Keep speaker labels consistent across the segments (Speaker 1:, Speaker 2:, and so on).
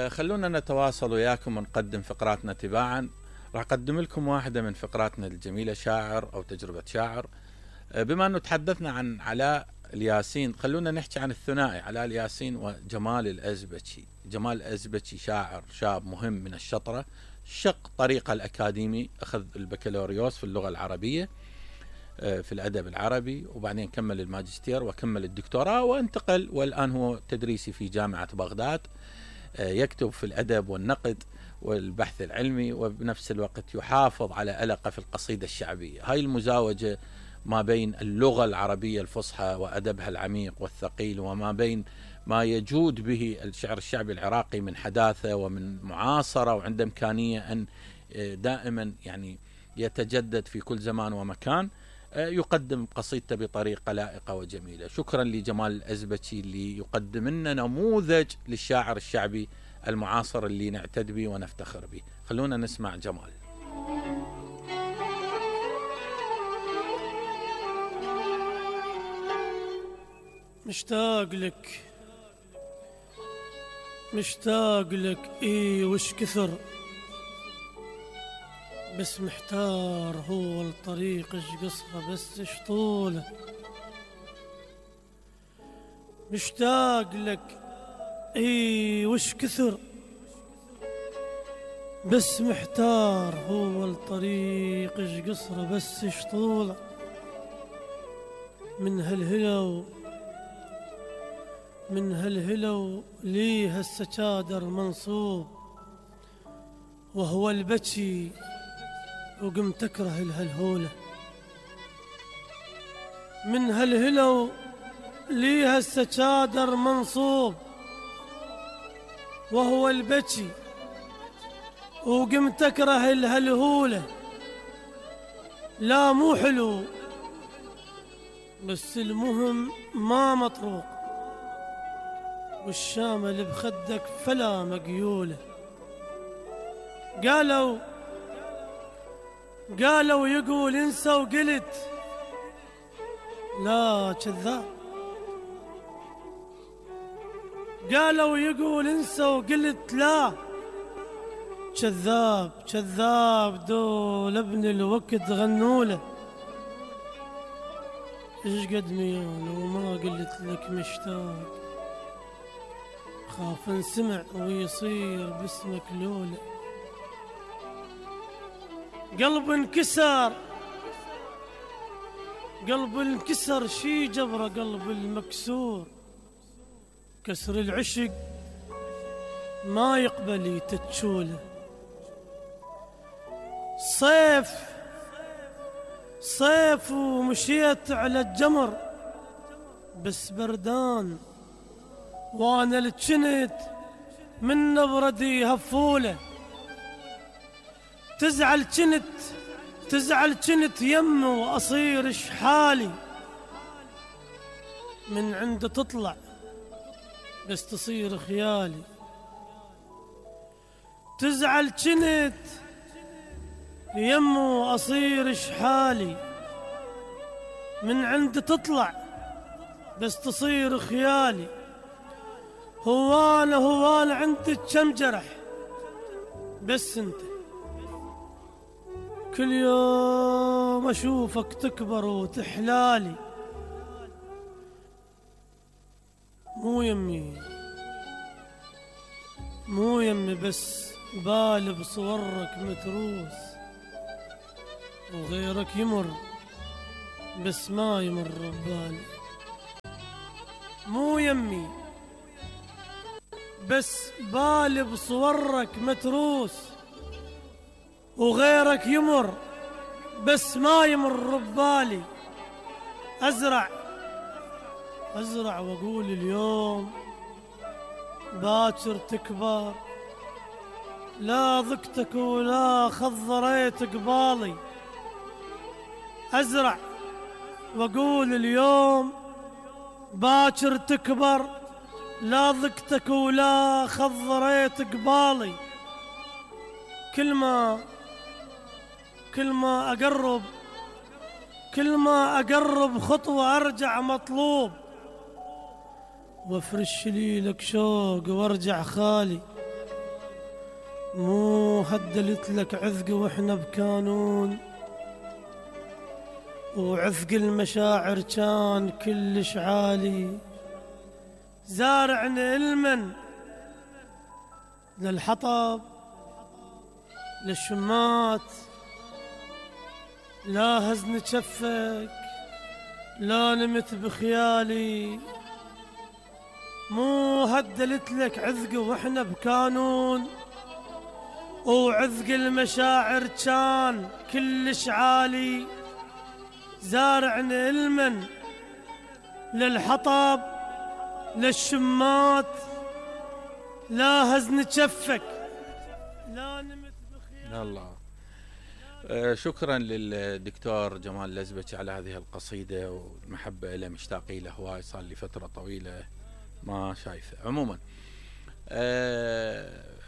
Speaker 1: خلونا نتواصل وياكم ونقدم فقراتنا تباعا. راح أقدم لكم واحدة من فقراتنا الجميلة، شاعر أو تجربة شاعر. بما أنه تحدثنا عن علاء الياسين، خلونا نحكي عن الثنائي علاء الياسين وجمال الأزبكي. جمال الأزبكي شاعر شاب مهم من الشطرة، شق طريقه الأكاديمي، أخذ البكالوريوس في اللغة العربية في الأدب العربي، وبعدين كمل الماجستير وكمل الدكتوراه وانتقل، والآن هو تدريسي في جامعة بغداد، يكتب في الأدب والنقد والبحث العلمي، وبنفس الوقت يحافظ على ألقة في القصيدة الشعبية. هاي المزاوجة ما بين اللغة العربية الفصحى وأدبها العميق والثقيل، وما بين ما يجود به الشعر الشعبي العراقي من حداثة ومن معاصرة، وعنده إمكانية أن دائما يعني يتجدد في كل زمان ومكان، يقدم قصيدته بطريقة لائقة وجميلة. شكرا لجمال الأزبكي اللي يقدم لنا نموذج للشاعر الشعبي المعاصر اللي نعتد به ونفتخر به. خلونا نسمع جمال.
Speaker 2: مشتاق لك مشتاق لك وش كثر، بس محتار هو الطريق ايش قصره بس ايش طوله. مشتاق لك وش كثر، بس محتار هو الطريق ايش قصره بس ايش طوله. من هالهلو ليه هالسجادر منصوب، وهو البكي وقمت اكره الهلهوله. من هالهلو ليه هالسجادر منصوب، وهو البكي وقمت اكره الهلهوله. لا مو حلو بس المهم ما مطروق، والشامل بخدك فلا مقيوله. قالوا يقول انسى، وقلت لا كذاب. قالوا يقول انسى، وقلت لا كذاب. دول ابن الوقت غنوله. ايش قد ميال وما قلت لك مشتاق، خاف انسمع ويصير باسمك لوله. قلب انكسر شي جبره قلب المكسور. كسر العشق ما يقبل يتتشوله. صيف ومشيت على الجمر، بس بردان وانا الجنت من نبردي هفوله. تزعل جنت يم واصير اش حالي، من عنده تطلع بس تصير خيالي. تزعل جنت يم واصير اش حالي، من عنده تطلع بس تصير خيالي. هو انا عندك كم جرح، بس انت كل يوم اشوفك تكبر وتحلالي. مو يمي بس بالي بصورك متروس، وغيرك يمر بس ما يمر ببالي. مو يمي بس بالي بصورك متروس، وغيرك يمر بس ما يمر ببالي. أزرع وأقول اليوم باكر تكبر، لا ضقتك ولا خضريت قبالي. أزرع وأقول اليوم باكر تكبر، لا ضقتك ولا خضريت قبالي. كل ما أقرب خطوة أرجع مطلوب، وافرش لي لك شوق وارجع خالي. مو هدلت لك عذق واحنا بكانون، وعذق المشاعر كان كلش عالي. زارعنا المن للحطب للشمات، لا هزن جفك لا نمت بخيالي. مو هدلت لك عذق واحنا بكانون، وعذق المشاعر كان كلش عالي. زارعنا المن للحطب للشمات، لا هزن جفك لا نمت بخيالي.
Speaker 1: الله. شكرا للدكتور جمال لزبكي على هذه القصيدة، والمحبة له مشتاقي له هواي، صار لي فترة طويلة ما شايفه. عموما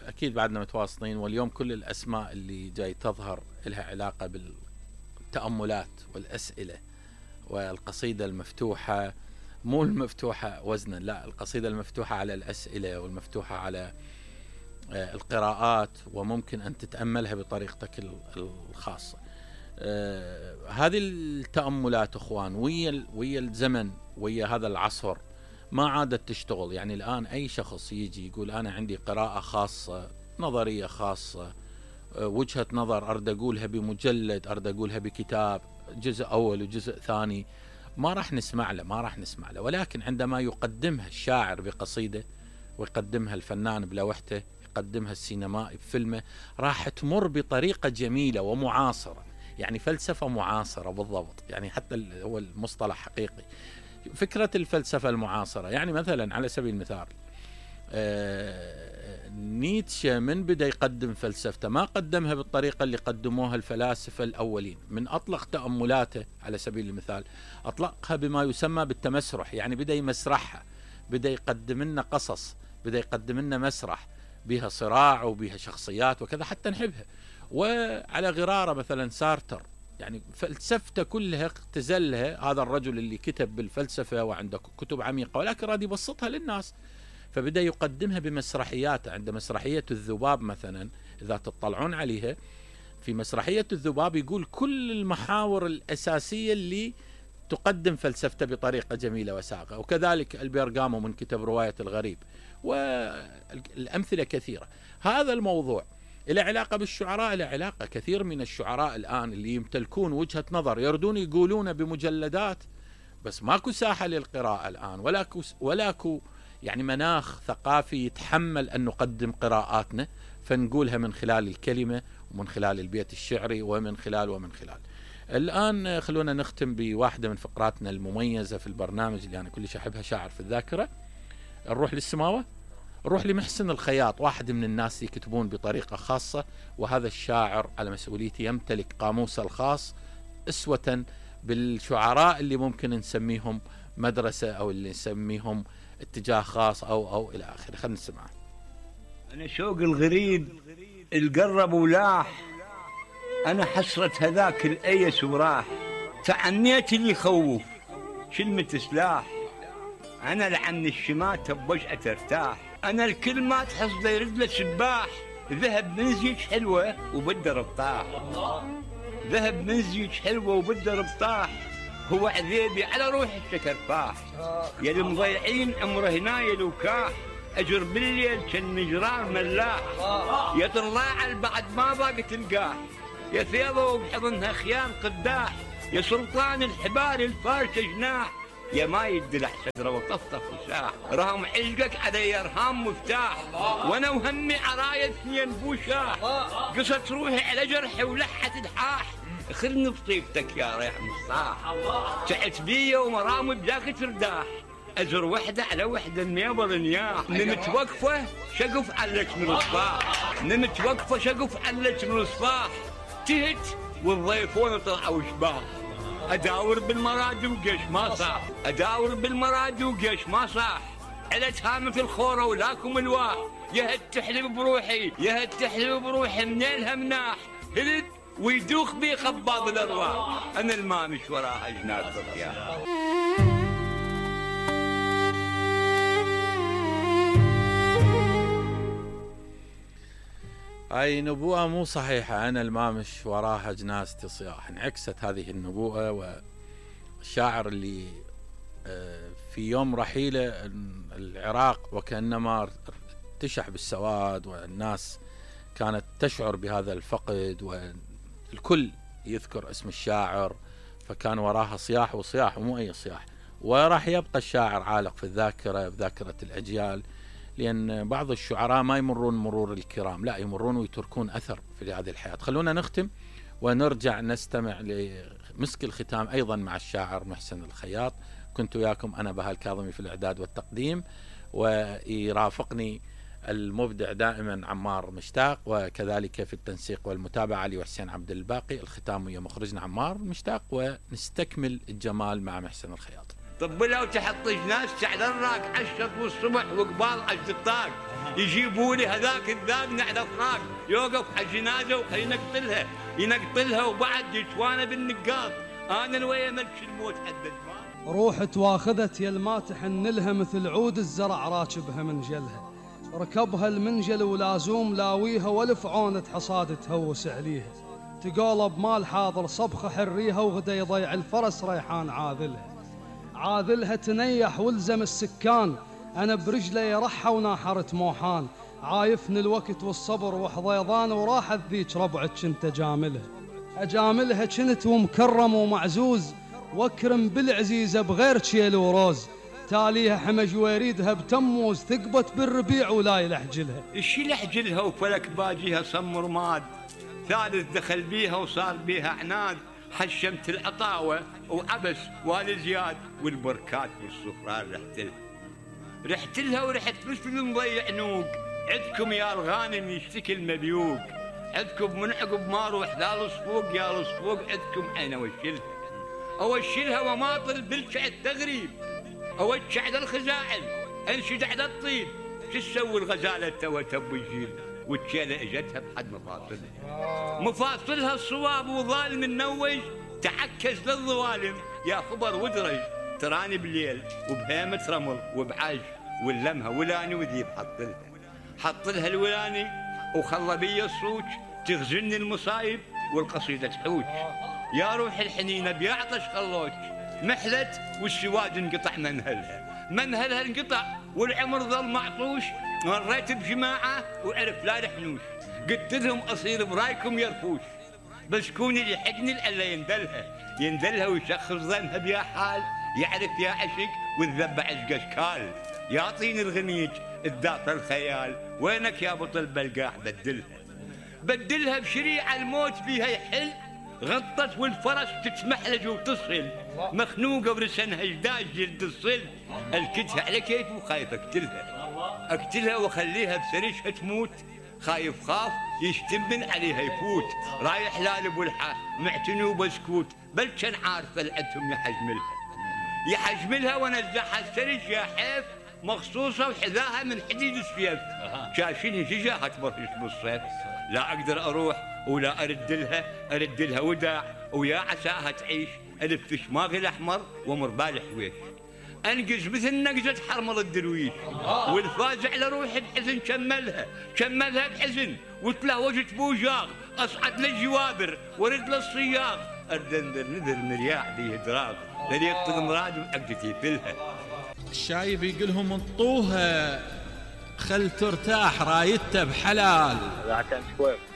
Speaker 1: أكيد بعدنا متواصلين، واليوم كل الأسماء اللي جاي تظهر لها علاقة بالتأملات والأسئلة، والقصيدة المفتوحة، مو المفتوحة وزنا، لا، القصيدة المفتوحة على الأسئلة والمفتوحة على القراءات، وممكن أن تتأملها بطريقتك الخاصة. هذه التأملات أخوان ويا الزمن، ويا هذا العصر ما عادت تشتغل. يعني الآن أي شخص يجي يقول أنا عندي قراءة خاصة، نظرية خاصة، وجهة نظر أرد أقولها بمجلد، أرد أقولها بكتاب، جزء أول وجزء ثاني، ما راح نسمع له. ولكن عندما يقدمها الشاعر بقصيدة، ويقدمها الفنان بلوحته، يقدمها السينمائي بفيلمه، راح تمر بطريقة جميلة ومعاصرة. يعني فلسفة معاصرة بالضبط، يعني حتى هو المصطلح حقيقي. فكرة الفلسفة المعاصرة، يعني مثلا على سبيل المثال نيتشه من بدأ يقدم فلسفته ما قدمها بالطريقة اللي قدموها الفلاسفة الأولين. من أطلق تأملاته على سبيل المثال أطلقها بما يسمى بالتمسرح، يعني بدأ يمسرحها، بدأ يقدم لنا قصص، بدأ يقدم لنا مسرح بها صراع وبها شخصيات وكذا حتى نحبها. وعلى غرارة مثلا سارتر، يعني فلسفته كلها اختزلها هذا الرجل اللي كتب بالفلسفة وعنده كتب عميقة، ولكن راد يبسطها للناس، فبدأ يقدمها بمسرحيات. عند مسرحية الذباب مثلا، إذا تطلعون عليها، في مسرحية الذباب يقول كل المحاور الأساسية اللي تقدم فلسفته بطريقة جميلة وساقة. وكذلك البيرغامو من كتب رواية الغريب، والأمثلة كثيرة. هذا الموضوع إلى علاقة بالشعراء، إلى علاقة كثير من الشعراء الآن اللي يمتلكون وجهة نظر يردون يقولون بمجلدات، بس ماكو ساحة للقراءة الآن، ولاكو يعني مناخ ثقافي يتحمل أن نقدم قراءاتنا، فنقولها من خلال الكلمة ومن خلال البيت الشعري ومن خلال. الآن خلونا نختم بواحدة من فقراتنا المميزة في البرنامج اللي أنا كلش أحبها، شاعر في الذاكرة. نروح للسماوة، نروح لمحسن الخياط، واحد من الناس يكتبون بطريقة خاصة، وهذا الشاعر على مسؤوليتي يمتلك قاموسه الخاص، أسوة بالشعراء اللي ممكن نسميهم مدرسة أو اللي نسميهم اتجاه خاص أو إلى آخره. خلينا نسمع.
Speaker 3: أنا شوق الغريب القرب ولاح، أنا حسرة هذاك الأيس وراح، تعنيت اللي يخوف شلمة سلاح، أنا لعن الشماتة بوجهة ترتاح، أنا الكل ما تحصده يرد له سباح، ذهب من زيج حلوة وبده ربطاح، ذهب من زيج حلوة وبده ربطاح، هو عذيبي على روح الشكرفاح، يا المضيعين عمره هنايل وكاح، أجر بالليل كالمجرار ملاح، يا طلاع بعد ما باقي تلقاه، يا ثيابه وبحضنها خيام قداح، يا سلطان الحبال الفارشة جناح، يا ما يدلع شجرة وطفطف وساح، رهم عشقك علي ارهام مفتاح، وانا وهمي عراية اثنين بوشاح، قصت روحي على جرحي ولحة الحاح، خلني بطيبتك يا ريح مصاح، تعت بيا ومرامي بذاك ترداح، أزر وحدة على وحدة النيابر نياح، نمت وقفة شقف علك من الصباح، نمت وقفة شقف علك من الصباح، تهت والضيفون طلعوا شباح، أداور بالمراد وقش ما صاح، أداور بالمراد وقش ما صاح، علت هامة الخورة ولاكم الواح، يا هد تحلب بروحي يا هد تحلب بروحي منينها مناح، هلد ويدوخ بي خباض الأرواح، أنا المامش وراها جنات الرياح.
Speaker 1: هاي نبوءة مو صحيحة، أنا المامش وراها جنازتي صياح. انعكست هذه النبوءة، والشاعر اللي في يوم رحيله العراق وكأنما ارتشح بالسواد، والناس كانت تشعر بهذا الفقد، والكل يذكر اسم الشاعر، فكان وراها صياح وصياح ومو أي صياح. وراح يبقى الشاعر عالق في الذاكرة، بذاكرة الأجيال، لأن بعض الشعراء ما يمرون مرور الكرام، لا يمرون ويتركون أثر في هذه الحياة. خلونا نختم ونرجع نستمع لمسك الختام أيضا مع الشاعر محسن الخياط. كنت وياكم أنا بهاء الكاظمي في الإعداد والتقديم، ويرافقني المبدع دائما عمار مشتاق، وكذلك في التنسيق والمتابعة علي وحسين عبد الباقي. الختام ويا مخرجنا عمار مشتاق، ونستكمل الجمال مع محسن الخياط.
Speaker 3: طب لو تحط ناس على الراق عشرة والصبح وقبال عشت الطاق، يجيبوا لي هذاك الذاب على الطاق، يوقف على الجنازة وخلينا ينقتلها وبعد يتوانا بالنقاط. انا الويا ملك الموت حدد
Speaker 4: روح تواخذت يا الماتح نلها مثل عود الزرع راكبها منجلها، ركبها المنجل ولازوم لاويها والف عونة حصاد تهوس عليها، تقولب مال حاضر صبخة حريها وغدا يضيع الفرس ريحان عاذلها تنيح والزم السكان، أنا برجلي رحة وناحرت موحان، عايفني الوقت والصبر وحضيضان وراحت ذيك ربعك كنت أجاملها كنت ومكرم ومعزوز، واكرم بالعزيزة بغير شيل وروز، تاليها حمج ويريدها بتموز، ثقبت بالربيع ولا يلحجلها.
Speaker 3: الشي لحجلها وفلك باجيها صم رماد، ثالث دخل بيها وصار بيها عناد، حشمت العطاوة وعبس والزياد والبركات والصفران رحت لها ورحت مثل مضيع نوق، عندكم يا الغانم يشتكي المبيوق، عندكم من عقب ما روح ذا الصفوق يا الصفوق، عندكم انا اوشلها وماطل بالشعد تغريب، اوجه على الخزاعل انشد على الطيب، شو تسوي الغزاله توا تبو يجيل والتشيله اجتها بحد مفاصلها الصواب وظالم النوج، تعكس للظوالم يا خبر ودرج، تراني بالليل وبهيمة رمل وبعج ولمها ولاني وذيب حط لها الولاني وخلى بي الصوج، تغزلني المصايب والقصيدة تحوج، يا روح الحنينة بيعطش خلوج، محلت والسواد انقطع منهلها انقطع والعمر ظل معطوش، مريت بجماعة وعرف لا رحنوش، قلت لهم أصير برايكم يرفوش، بس كوني اللي حقني الا يندلها ويشخص ظنها بيا حال، يعرف يا عشق والذبع اشكال، يعطيني الغنيج الداطر الخيال، وينك يا بطل بلقاح بدلها بشريعة الموت بيها يحل، غطت والفرس تتمحلج وتصل، مخنوقة ورسنها جداج جلد الصل، الكتها على كيف وخايف اقتلها واخليها بسريشها تموت، خايف خاف يشتمن عليها يفوت، رايح لالب والحا معتني وبسكوت، بل كان عارفه العدهم يحجملها ونزعها السرج يا حيف، مخصوصه وحذاها من حديد السيف، شاشيني جيجاها تبرش بالصيف، لا اقدر اروح ولا ارد لها وداع، ويا عساها تعيش الف شماغي الاحمر ومربال حويش، انقز مثل نقزة حرمل الدرويش، والفاز على روحي بحزن كملها بحزن، وتلهوجت بوجاغ اصعد للجوابر ورد للصياغ، اردنذر نذر مرياح بيه دراغ، طريقة المراد وعقدتي فلها.
Speaker 1: الشايب يقولهم انطوها خل ترتاح رايته بحلال.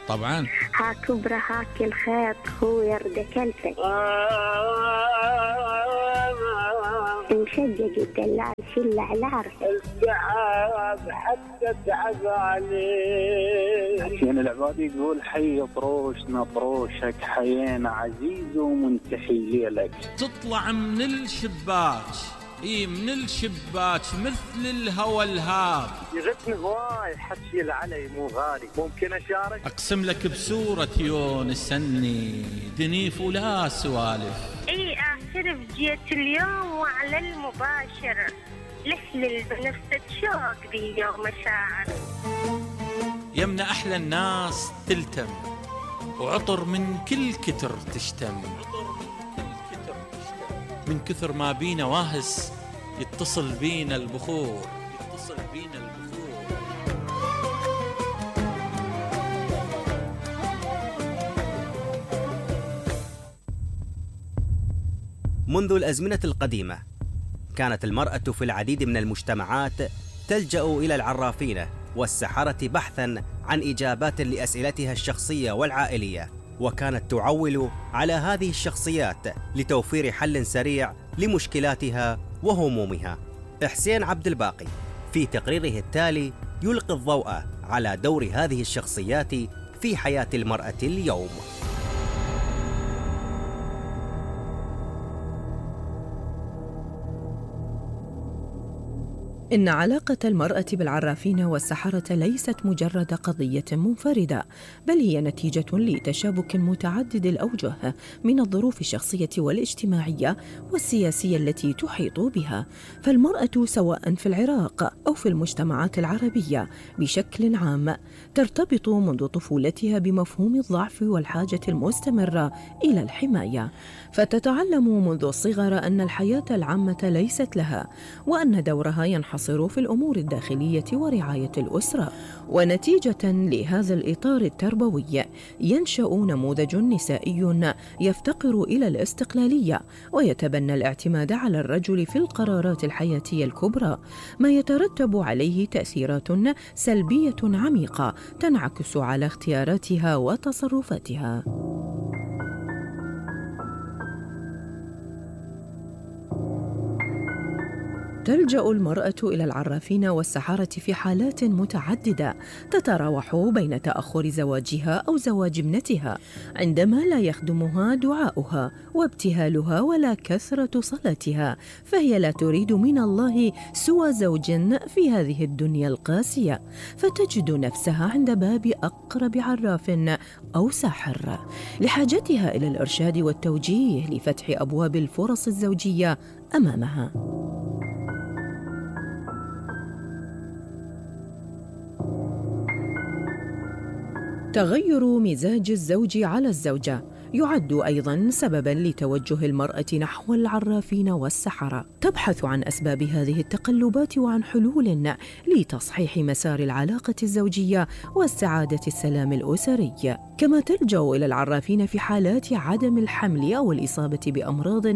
Speaker 1: طبعا
Speaker 5: هاك كبرى هاك الخيط هو يرد كلفك، مشجج الدلال شل على عرفك،
Speaker 6: التعب حتى تعب عليك، يعني العباد يقول حي طروشنا طروشك، حيينا عزيز ومنتحي ليلك،
Speaker 1: تطلع من الشباك من الشباك مثل الهوى الهاب،
Speaker 6: يغثني هواي حكي العلي مو غالي، ممكن اشارك؟
Speaker 1: اقسم لك بسورة يونس اني دنيف ولا سوالف،
Speaker 5: اي اعترف جيت اليوم وعلى المباشر، لحلل بنفسك شوق بي يوم مشاعر،
Speaker 1: يمنا احلى الناس تلتم وعطر من كل كتر تشتم، من كثر ما بينا واهس يتصل بينا البخور
Speaker 7: منذ الأزمنة القديمة كانت المرأة في العديد من المجتمعات تلجأ إلى العرافين والسحرة بحثاً عن إجابات لأسئلتها الشخصية والعائلية، وكانت تعول على هذه الشخصيات لتوفير حل سريع لمشكلاتها وهمومها. حسين عبد الباقي في تقريره التالي يلقي الضوء على دور هذه الشخصيات في حياة المرأة اليوم.
Speaker 8: إن علاقة المرأة بالعرافين والسحرة ليست مجرد قضية منفردة، بل هي نتيجة لتشابك متعدد الأوجه من الظروف الشخصية والاجتماعية والسياسية التي تحيط بها. فالمرأة سواء في العراق أو في المجتمعات العربية بشكل عام ترتبط منذ طفولتها بمفهوم الضعف والحاجة المستمرة إلى الحماية، فتتعلم منذ الصغر أن الحياة العامة ليست لها، وأن دورها ينحصر في الأمور الداخلية ورعاية الأسرة. ونتيجة لهذا الإطار التربوي ينشأ نموذج نسائي يفتقر إلى الاستقلالية ويتبنى الاعتماد على الرجل في القرارات الحياتية الكبرى، ما يترتب عليه تأثيرات سلبية عميقة تنعكس على اختياراتها وتصرفاتها. تلجأ المرأة إلى العرافين والسحرة في حالات متعددة تتراوح بين تأخر زواجها أو زواج ابنتها، عندما لا يخدمها دعاؤها وابتهالها ولا كثرة صلاتها، فهي لا تريد من الله سوى زوج في هذه الدنيا القاسية، فتجد نفسها عند باب أقرب عراف أو ساحر لحاجتها إلى الإرشاد والتوجيه لفتح أبواب الفرص الزوجية أمامها. تغير مزاج الزوج على الزوجة يعد أيضاً سبباً لتوجه المرأة نحو العرافين والسحرة. تبحث عن أسباب هذه التقلبات وعن حلول لتصحيح مسار العلاقة الزوجية واستعادة السلام الأسري. كما تلجأ إلى العرافين في حالات عدم الحمل أو الإصابة بأمراض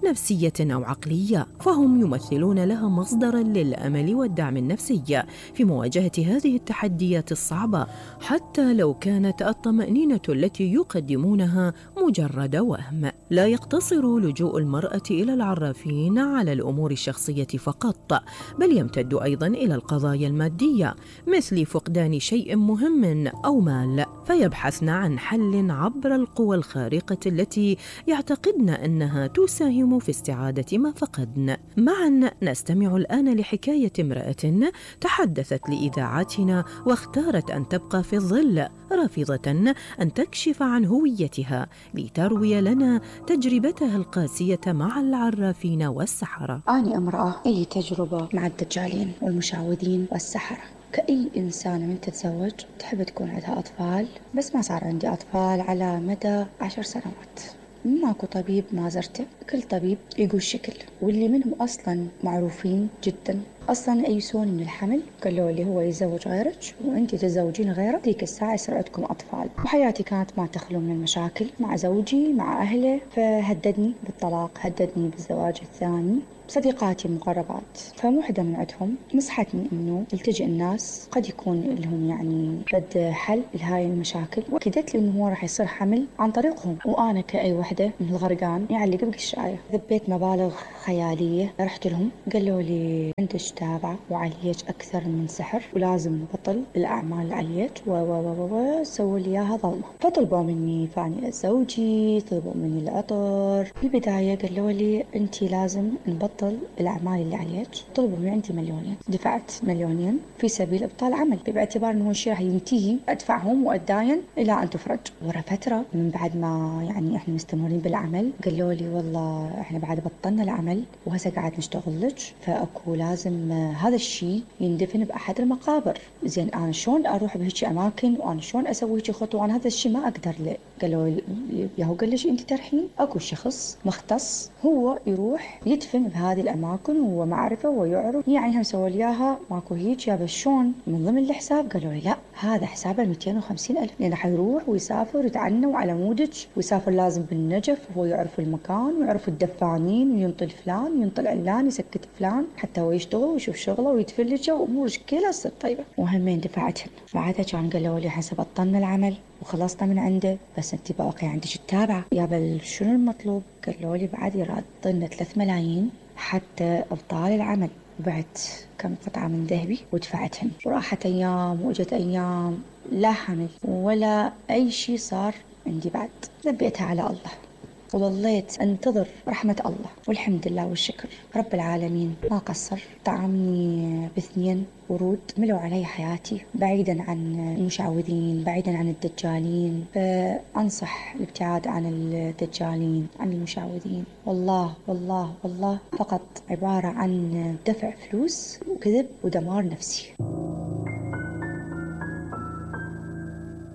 Speaker 8: نفسية أو عقلية، فهم يمثلون لها مصدراً للأمل والدعم النفسي في مواجهة هذه التحديات الصعبة، حتى لو كانت الطمأنينة التي يقدمونها مجرد وهم. لا يقتصر لجوء المرأة إلى العرافين على الأمور الشخصية فقط، بل يمتد أيضاً إلى القضايا المادية مثل فقدان شيء مهم أو مال، فيبحثن عن حل عبر القوى الخارقة التي يعتقدن أنها تساهم في استعادة ما فقدن. معاً نستمع الآن لحكاية امرأة تحدثت لإذاعتنا واختارت أن تبقى في الظل، رافضة أن تكشف عن هويتها لتروي لنا تجربتها القاسية مع العرافين والسحرة.
Speaker 9: أنا امرأة لي تجربة مع الدجالين والمشعوذين والسحرة. كأي إنسانة من تتزوج تحب تكون عندها أطفال، بس ما صار عندي أطفال على مدى 10 سنوات. ماكو طبيب ما زرته، كل طبيب يقول شكل، واللي منهم أصلا معروفين جدا أصلا يئسون من الحمل، قالوا لي هو يزوج غيرك وأنت تزوجين غيره، ذيك الساعة يصير عندكم أطفال. وحياتي كانت ما تخلو من المشاكل مع زوجي مع أهله، فهددني بالطلاق، هددني بالزواج الثاني. صديقاتي المقربات فمو حدا من عندهم نصحتني إنه التجئ الناس قد يكون لهم يعني بد حل لهاي المشاكل، وأكدت لي إنه هو راح يصير حمل عن طريقهم. وأنا كأي وحدة من الغرقان يعلق بقشاية ذبيت مبالغ خيالية. رحت لهم قالوا لي عندك تابعة وعليك أكثر من سحر ولازم نبطل الأعمال اللي عليك سووا لي إياها ظلمة. فطلبوا مني فاني زوجي، طلبوا مني العطر. بالبداية قالوا لي أنتي لازم نبطل الأعمال اللي عليك. طلبوا من عندي 2,000,000، دفعت 2,000,000 في سبيل إبطال عمل، باعتبار أنه الشيء راح ينتهي أدفعهم وأتداين إلى أن تفرج. ورا فترة من بعد ما يعني إحنا مستمرين بالعمل قالوا لي والله إحنا بعد بطلنا العمل وهسه قاعد نشتغل لك، فأكو لازم لازم هذا الشيء يندفن بأحد المقابر. زين أنا شلون أروح بهيك أماكن وأنا شلون أسوي هيك خطوة؟ أنا هذا الشيء ما أقدر له. قالوا ياهو قال ليش أنت ترحين؟ أكو شخص مختص هو يروح يدفن بهذه الأماكن وهو معرفة ويعرف. يعني هم سووا لي إياها ماكو هيك. يا بس شلون من ضمن الحساب؟ قالوا لي لا هذا حسابه 250,000 لأنه حيروح ويسافر يتعنى وعلى مودج ويسافر لازم بالنجف وهو يعرف المكان ويعرف الدفانين وينطل فلان وينطل علان يسكت فلان حتى هو يشتغل ويشوف شغله ويتفلج وأمور كلها تصير طيبة. وهمين دفعتهن. بعدها كان قالوا لي حسب بطلنا العمل وخلصنا من عنده بس انت باقي عندك التابعة. يا بل شنو المطلوب؟ قالوا لي بعد يرادنا 3 ملايين حتى ابطال العمل. وبعت كم قطعة من ذهبي ودفعتهن. وراحت أيام وأجت أيام لا حمل ولا أي شيء صار عندي. بعد ذبيتها على الله وظليت أنتظر رحمة الله والحمد لله والشكر رب العالمين ما قصر. طعمني ب2 ورود ملوا علي حياتي بعيدا عن المشعوذين بعيدا عن الدجالين. فأنصح الابتعاد عن الدجالين عن المشعوذين. والله والله والله فقط عبارة عن دفع فلوس وكذب ودمار نفسي.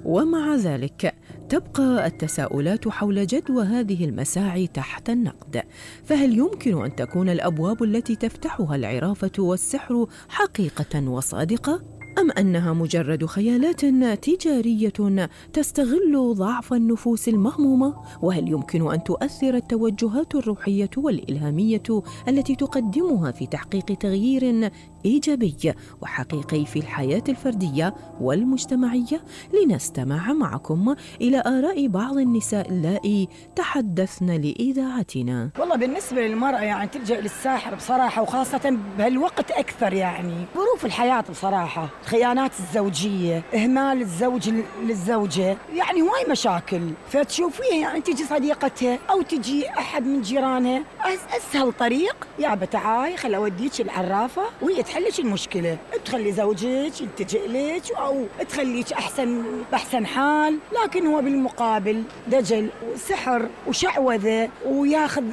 Speaker 8: ومع ذلك تبقى التساؤلات حول جدوى هذه المساعي تحت النقد. فهل يمكن أن تكون الأبواب التي تفتحها العرافة والسحر حقيقة وصادقة؟ أم أنها مجرد خيالات تجارية تستغل ضعف النفوس المهمومة؟ وهل يمكن أن تؤثر التوجهات الروحية والإلهامية التي تقدمها في تحقيق تغيير إيجابي وحقيقي في الحياة الفردية والمجتمعية؟ لنستمع معكم إلى آراء بعض النساء اللائي تحدثن لإذاعتنا.
Speaker 10: والله بالنسبة للمرأة يعني تلجأ للساحر بصراحة وخاصة بهالوقت أكثر. يعني ظروف الحياة بصراحة الخيانات الزوجية إهمال الزوج للزوجة يعني هواي مشاكل. فتشوفيها يعني تجي صديقتها أو تجي أحد من جيرانها أسهل طريق يا بتعاي خل أوديك العرافة وهي تحلش المشكلة. تخلي زوجك يلتجئ لك أو تخليك بأحسن حال. لكن هو بالمقابل دجل وسحر وشعوذة وياخذ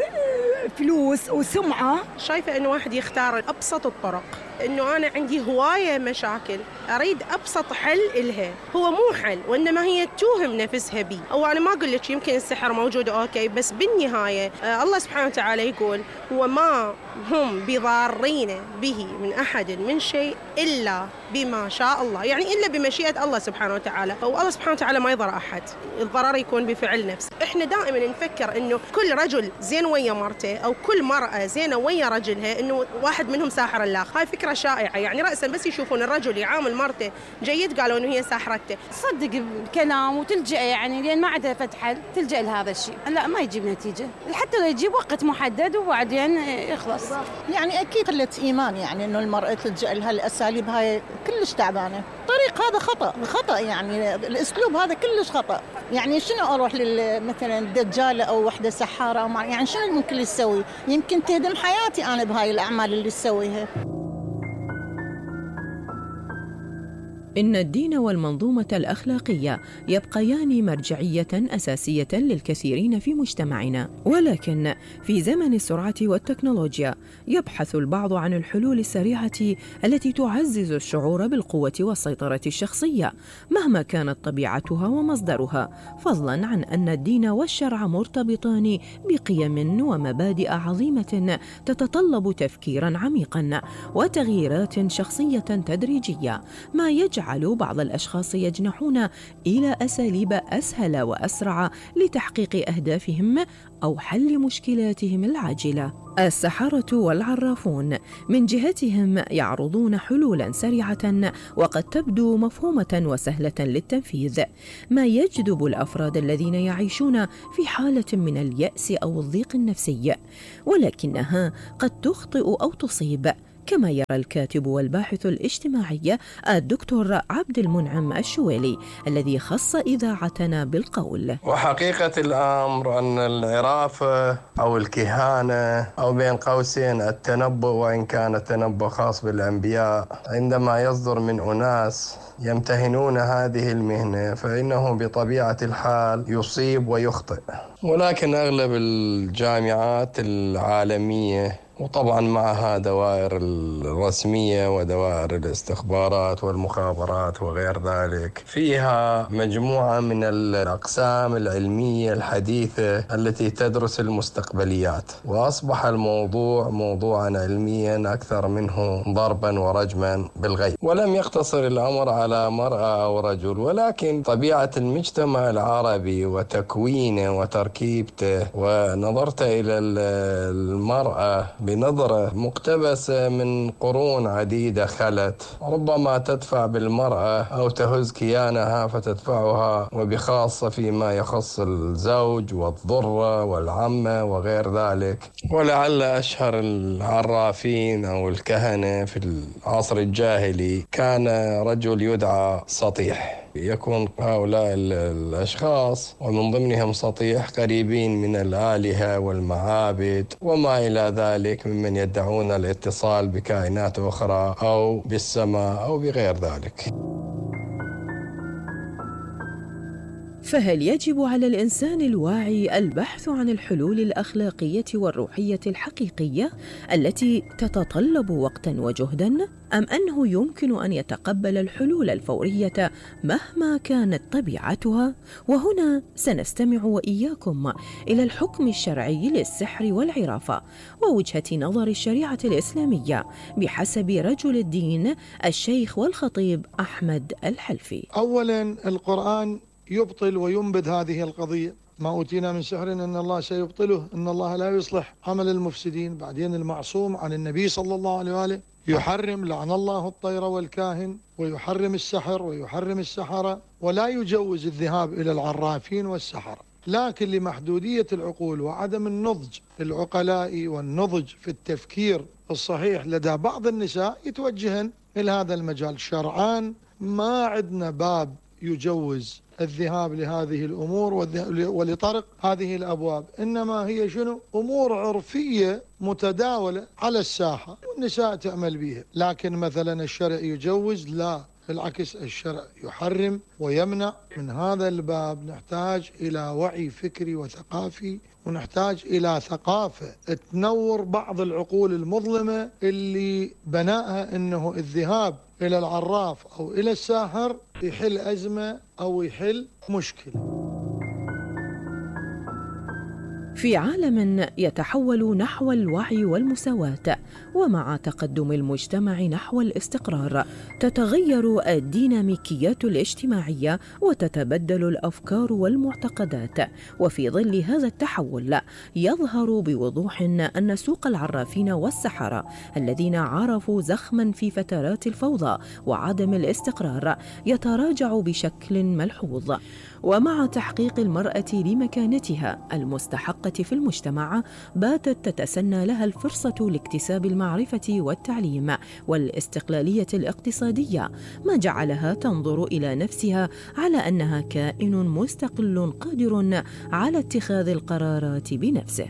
Speaker 10: فلوس وسمعة.
Speaker 11: شايفة إنه واحد يختار أبسط الطرق. إنه أنا عندي هواية مشاكل أريد أبسط حل إلها. هو مو حل وإنما هي توهم نفسها بي. أو أنا ما أقول لك يمكن السحر موجود أوكي بس بالنهاية الله سبحانه وتعالى يقول وما هم بضارين به من أحد من شيء إلا بما شاء الله. يعني إلا بمشيئة الله سبحانه وتعالى. أو الله سبحانه وتعالى ما يضر أحد. الضرر يكون بفعل نفس. إحنا دائما نفكر إنه كل رجل زين ويا مرته أو كل مرأة زينة ويا رجلها إنه واحد منهم ساحر الآخر. هاي فكرة شائعة. يعني رأسا بس يشوفون الرجل يعامل مرته جيد قالوا إنه هي ساحرته.
Speaker 12: تصدق الكلام وتلجأ يعني لين ما عندها فتح تلجأ لهذا الشيء. لا ما يجيب نتيجة حتى لو يجيب وقت محدد وبعدين يخلص.
Speaker 13: يعني أكيد قلة إيمان يعني إنه المرأة تلجأ لها الأساليب هاي كلش تعبانة. الطريق هذا خطأ يعني الأسلوب هذا كلش خطأ. يعني شنو أروح مثلا دجالة أو وحدة سحارة أو يعني شنو ممكن يسوي؟ يمكن تهدم حياتي أنا بهاي الأعمال اللي تسويها.
Speaker 8: إن الدين والمنظومة الأخلاقية يبقيان مرجعية أساسية للكثيرين في مجتمعنا. ولكن في زمن السرعة والتكنولوجيا يبحث البعض عن الحلول السريعة التي تعزز الشعور بالقوة والسيطرة الشخصية مهما كانت طبيعتها ومصدرها، فضلا عن أن الدين والشرع مرتبطان بقيم ومبادئ عظيمة تتطلب تفكيرا عميقا وتغييرات شخصية تدريجية، ما يجعل بعض الأشخاص يجنحون إلى أساليب أسهل وأسرع لتحقيق أهدافهم أو حل مشكلاتهم العاجلة. السحرة والعرافون من جهتهم يعرضون حلولا سريعة وقد تبدو مفهومة وسهلة للتنفيذ، ما يجذب الأفراد الذين يعيشون في حالة من اليأس أو الضيق النفسي، ولكنها قد تخطئ أو تصيب، كما يرى الكاتب والباحث الاجتماعي الدكتور عبد المنعم الشويلي الذي خص إذاعتنا بالقول:
Speaker 14: وحقيقة الأمر أن العرافة أو الكهانة أو بين قوسين التنبؤ، وإن كان التنبؤ خاص بالأنبياء، عندما يصدر من أناس يمتهنون هذه المهنة فإنه بطبيعة الحال يصيب ويخطئ. ولكن أغلب الجامعات العالمية وطبعا معها دوائر الرسمية ودوائر الاستخبارات والمخابرات وغير ذلك. فيها مجموعة من الأقسام العلمية الحديثة التي تدرس المستقبليات، وأصبح الموضوع موضوعا علميا أكثر منه ضربا ورجما بالغيب. ولم يقتصر الأمر على مرأة أو رجل، ولكن طبيعة المجتمع العربي وتكوينه وتركيبته، ونظرت إلى المرأة بنظرة مقتبسة من قرون عديدة خلت، ربما تدفع بالمرأة أو تهز كيانها فتدفعها، وبخاصة فيما يخص الزوج والضرة والعمة وغير ذلك. ولعل أشهر العرافين أو الكهنة في العصر الجاهلي كان رجل يدعى سطيح. يكون هؤلاء الأشخاص ومن ضمنهم سطيح قريبين من الآلهة والمعابد وما إلى ذلك، ممن يدعون الاتصال بكائنات أخرى أو بالسماء أو بغير ذلك.
Speaker 8: فهل يجب على الإنسان الواعي البحث عن الحلول الأخلاقية والروحية الحقيقية التي تتطلب وقتاً وجهداً؟ أم أنه يمكن أن يتقبل الحلول الفورية مهما كانت طبيعتها؟ وهنا سنستمع وإياكم إلى الحكم الشرعي للسحر والعرافة ووجهة نظر الشريعة الإسلامية بحسب رجل الدين الشيخ والخطيب أحمد الحلفي.
Speaker 15: أولاً القرآن يبطل وينبذ هذه القضية. ما أوتينا من سحر إن الله سيبطله، إن الله لا يصلح عمل المفسدين. بعدين المعصوم عن النبي صلى الله عليه وآله يحرم لعن الله الطير والكاهن، ويحرم السحر ويحرم السحرة، ولا يجوز الذهاب إلى العرافين والسحرة. لكن لمحدودية العقول وعدم النضج العقلائي والنضج في التفكير الصحيح لدى بعض النساء يتوجهن إلى هذا المجال. شرعان ما عندنا باب يجوز الذهاب لهذه الأمور ولطرق هذه الأبواب، إنما هي شنو؟ أمور عرفية متداولة على الساحة والنساء تعمل بها. لكن مثلا الشرع يجوز؟ لا، بالعكس الشرع يحرم ويمنع. من هذا الباب نحتاج إلى وعي فكري وثقافي، ونحتاج إلى ثقافة تنور بعض العقول المظلمة اللي بناءها أنه الذهاب إلى العراف أو إلى الساحر يحل أزمة أو يحل مشكلة.
Speaker 8: في عالم يتحول نحو الوعي والمساواة، ومع تقدم المجتمع نحو الاستقرار، تتغير الديناميكيات الاجتماعية وتتبدل الأفكار والمعتقدات. وفي ظل هذا التحول يظهر بوضوح أن سوق العرافين والسحرة الذين عرفوا زخما في فترات الفوضى وعدم الاستقرار يتراجع بشكل ملحوظ. ومع تحقيق المرأة لمكانتها المستحقة في المجتمع، باتت تتسنى لها الفرصة لاكتساب المعرفة والتعليم والاستقلالية الاقتصادية، ما جعلها تنظر إلى نفسها على أنها كائن مستقل قادر على اتخاذ القرارات بنفسه.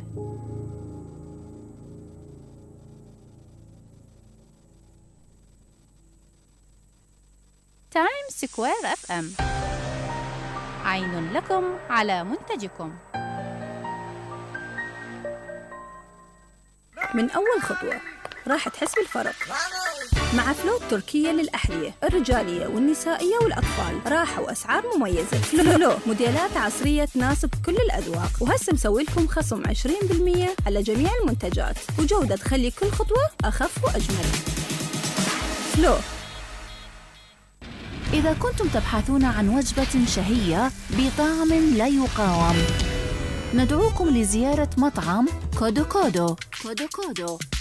Speaker 16: تايمز سكوير FM، عين لكم على منتجكم.
Speaker 17: من أول خطوة راح تحس بالفرق مع فلو التركية للأحذية الرجالية والنسائية والأطفال. راحة وأسعار مميزة. فلو موديلات عصرية تناسب كل الأذواق، وهسه مسوي لكم خصم 20% على جميع المنتجات، وجودة تخلي كل خطوة أخف وأجمل. فلو.
Speaker 16: إذا كنتم تبحثون عن وجبة شهية بطعم لا يقاوم، ندعوكم لزيارة مطعم كودو كودو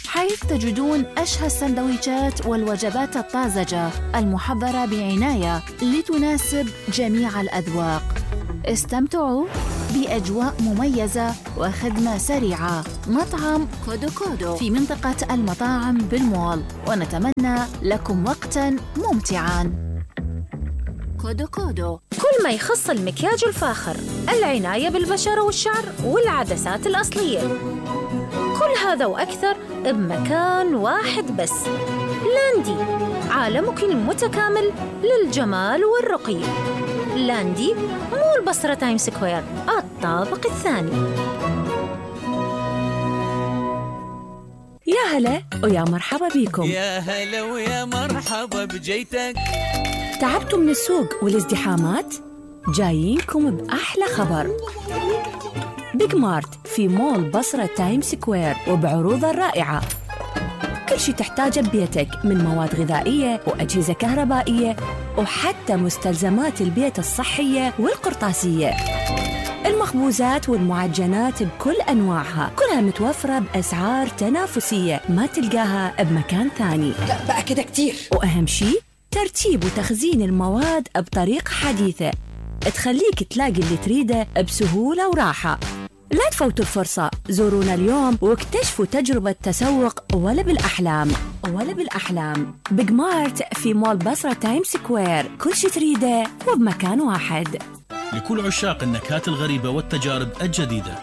Speaker 16: حيث تجدون أشهى السندويشات والوجبات الطازجة المحضرة بعناية لتناسب جميع الأذواق. استمتعوا بأجواء مميزة وخدمة سريعة. مطعم كودو كودو في منطقة المطاعم بالمول، ونتمنى لكم وقتاً ممتعاً. كودو كودو.
Speaker 17: كل ما يخص المكياج الفاخر، العناية بالبشرة والشعر والعدسات الأصلية، كل هذا وأكثر بمكان واحد بس. لاندي، عالمك المتكامل للجمال والرقي. لاندي مو البصرة تايم سكوير، الطابق الثاني.
Speaker 8: يا هلا ويا مرحبا بيكم.
Speaker 18: يا هلا ويا مرحبا بجيتك.
Speaker 8: تعبتوا من السوق والازدحامات؟ جايينكم بأحلى خبر. بيج مارت في مول بصرة تايم سكوير وبعروضه الرائعة. كل شي تحتاجه ببيتك من مواد غذائية وأجهزة كهربائية وحتى مستلزمات البيت الصحية والقرطاسية. المخبوزات والمعجنات بكل أنواعها كلها متوفرة بأسعار تنافسية ما تلقاها بمكان ثاني.
Speaker 10: لا بقى كده كتير.
Speaker 8: وأهم شي ترتيب وتخزين المواد بطريقة حديثة تخليك تلاقي اللي تريده بسهولة وراحة. لا تفوتوا الفرصة، زورونا اليوم واكتشفوا تجربة تسوق ولا بالأحلام. بيج مارت في مول بصرة تايم سكوير، كل شي تريده وبمكان واحد.
Speaker 19: لكل عشاق النكهات الغريبة والتجارب الجديدة،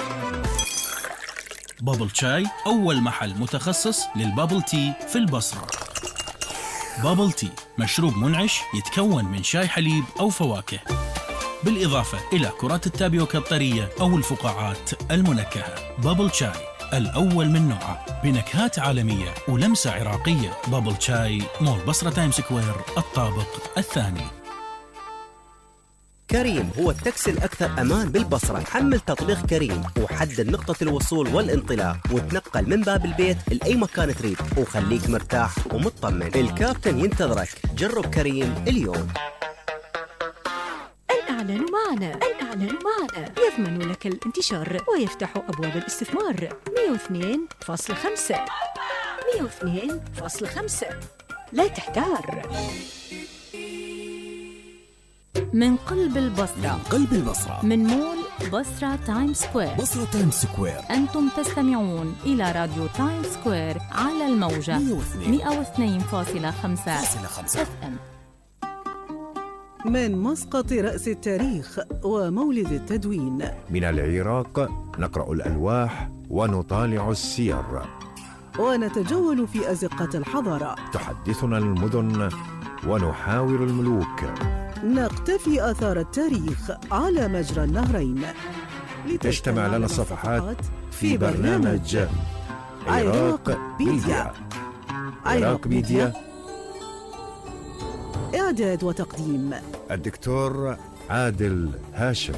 Speaker 19: بابل شاي أول محل متخصص للبابل تي في البصرة. بابل تي مشروب منعش يتكون من شاي حليب أو فواكه، بالإضافة إلى كرات التابيوكا الطرية أو الفقاعات المنكهة. بابل شاي الأول من نوعه بنكهات عالمية ولمسة عراقية. بابل شاي، مول بصرة تايم سكوير، الطابق الثاني.
Speaker 7: كريم هو التاكسي الأكثر أمان بالبصرة. حمل تطبيق كريم وحدد نقطة الوصول والانطلاق وتنقل من باب البيت لأي مكان تريد وخليك مرتاح ومطمن. الكابتن ينتظرك. جرب كريم اليوم.
Speaker 20: الإعلان معنا يضمن لك الانتشار ويفتح أبواب الاستثمار. 102.5 لا تحتار.
Speaker 21: من قلب البصرة، من مول بصرة تايم سكوير. أنتم تستمعون إلى راديو تايم سكوير على الموجة 102.5 FM.
Speaker 22: من مسقط رأس التاريخ ومولد التدوين.
Speaker 23: من العراق نقرأ الألواح ونطالع السير
Speaker 22: ونتجول في أزقة الحضارة.
Speaker 23: تحدثنا المدن ونحاور الملوك.
Speaker 22: نقتفي آثار التاريخ على مجرى النهرين.
Speaker 23: تجتمع لنا الصفحات في برنامج عراق ميديا.
Speaker 22: إعداد وتقديم
Speaker 23: الدكتور عادل هاشم.